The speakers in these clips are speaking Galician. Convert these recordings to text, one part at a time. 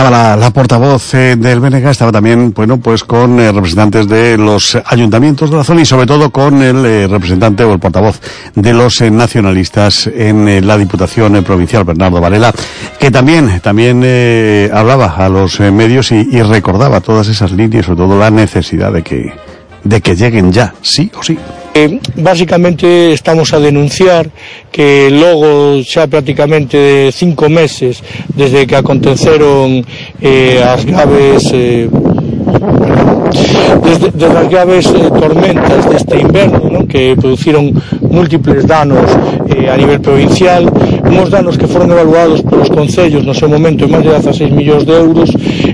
estaba la portavoz del BNG, estaba también, bueno, pues con representantes de los ayuntamientos de la zona y sobre todo con el representante o el portavoz de los nacionalistas en la Diputación Provincial, Bernardo Varela, que también hablaba a los medios y recordaba todas esas líneas, sobre todo la necesidad de que lleguen ya, sí o sí. Básicamente estamos a denunciar que logo xa prácticamente 5 meses desde que aconteceron as graves desde as graves tormentas deste inverno, non? Que produciron múltiples danos a nivel provincial, uns danos que foron evaluados polos concellos no seu momento en máis de 16 millóns de euros.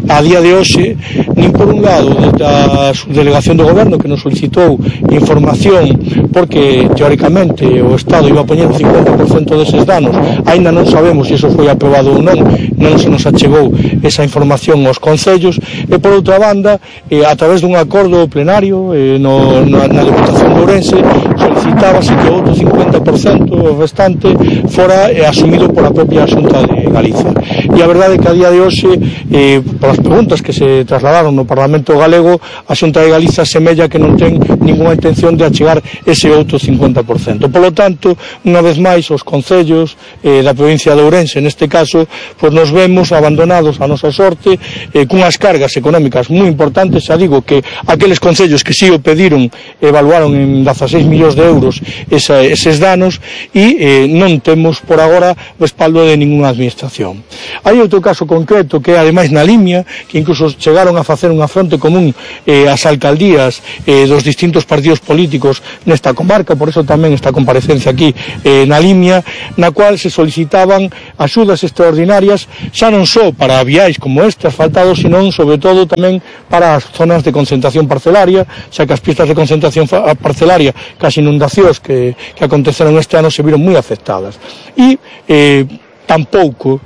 A día de hoxe, nin por un lado da subdelegación do goberno que nos solicitou información porque teóricamente o Estado iba a poñer o 50% deses danos, aínda non sabemos se iso foi aprobado ou non se nos achegou esa información aos concellos, e por outra banda, a través dun acordo plenario na Deputación de Ourense solicitábase que outro 50% restante fora asumido pola propia Xunta de Galiza. E a verdade é que a día de hoxe, polas preguntas que se trasladaron no Parlamento Galego, a Xunta de Galiza semella que non ten ninguna intención de achegar ese outro 50%. Polo tanto, unha vez máis, os concellos da provincia de Ourense, neste caso, pois nos vemos abandonados a nosa sorte, cunhas cargas económicas moi importantes. Xa digo que aqueles concellos que si o pediron evaluaron en 16 millóns de euros eses danos e non temos por agora respaldo de ninguna administración. Hai outro caso concreto que é ademais na Limia, que incluso chegaron a facer unha fronte común as alcaldías dos distintos partidos políticos nesta comarca, por eso tamén esta comparecencia aquí na Limia, na cual se solicitaban axudas extraordinarias xa non só para viais como este asfaltado, senón sobre todo tamén para as zonas de concentración parcelaria, xa que as pistas de concentración parcelaria cas inundacións que aconteceron este ano se viron moi afectadas. E tampouco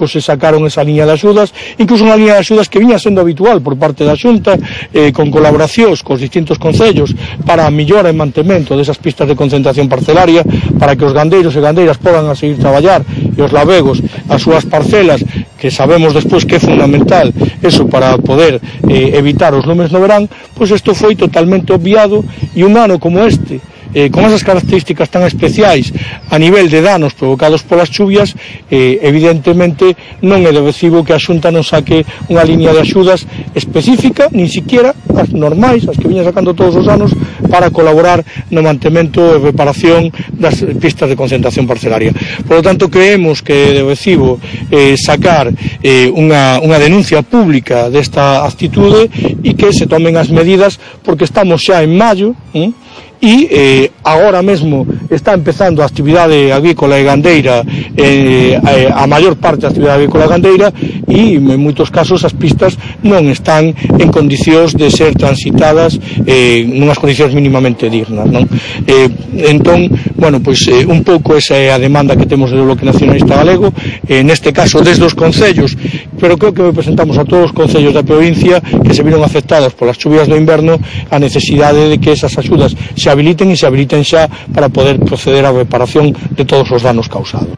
se sacaron esa liña de axudas, incluso unha liña de axudas que viña sendo habitual por parte da Xunta, con colaboracións cos distintos concellos para a millora e mantemento desas pistas de concentración parcelaria, para que os gandeiros e gandeiras podan a seguir traballar e os labegos as súas parcelas, que sabemos despois que é fundamental eso para poder evitar os lumes no verán. Pois isto foi totalmente obviado, e un ano como este, con esas características tan especiais a nivel de danos provocados polas chuvias, evidentemente non é de recibo que a Xunta non saque unha liña de axudas específica, nin siquiera as normais, as que viña sacando todos os anos, para colaborar no mantemento e reparación das pistas de concentración parcelaria. Por lo tanto, creemos que é de recibo sacar unha denuncia pública desta actitude e que se tomen as medidas, porque estamos xa en maio, e agora mesmo está empezando a actividade agrícola e gandeira, a maior parte da actividade agrícola e gandeira, e en moitos casos as pistas non están en condicións de ser transitadas nunhas condicións mínimamente dignas, non? Entón, bueno, pois un pouco esa é a demanda que temos do Bloque Nacionalista Galego, neste caso desde os concellos, pero creo que representamos a todos os concellos da provincia que se viron afectados polas chuvias do inverno, a necesidade de que esas axudas se habiliten e se habiliten xa para poder proceder á reparación de todos os danos causados.